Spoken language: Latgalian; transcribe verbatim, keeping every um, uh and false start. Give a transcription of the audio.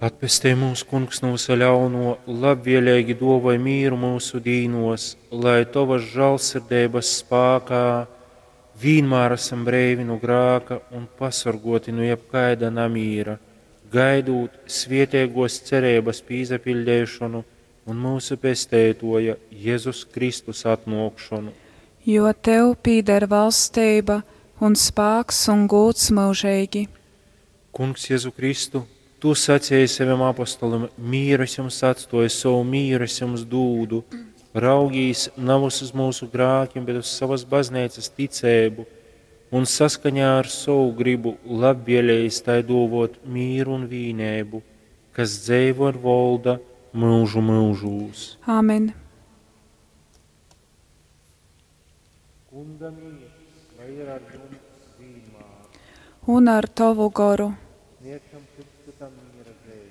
Atpestej mūs, Kungs, nu vysa ļauno, labvieleigi duovoj mīru myusu dīnuos, lai Tovas žālsirdeibas spākā vīnmār asam breivi nu grāka un pasorguoti nu jebkaida namīra, gaidūt svieteiguos cereibas pīsapiļdeišonu un myusu Pesteituoja Jezus Kristus atnuokšonu. Jo tev pīder valsteiba un spāks un gūds myužeigi. Kungs Jezu Kristu, Tu saceji savim apostolim: Mīru es jums atstoju, sovu mīru es jums dūdu. Raugīs navys uz mūsu grākim, bet uz savas bazneicas ticēbu, un saskaņā ar sovu gribu labvēlējis tai dōvot mīru un vīneibu, kas dzeivo un volda mūžu mūžūs. Āmen. Kunga mīrs, lai ir ar jums vienmēr. Un ar tavu goru. Sniegšam cits citam miera zīmi.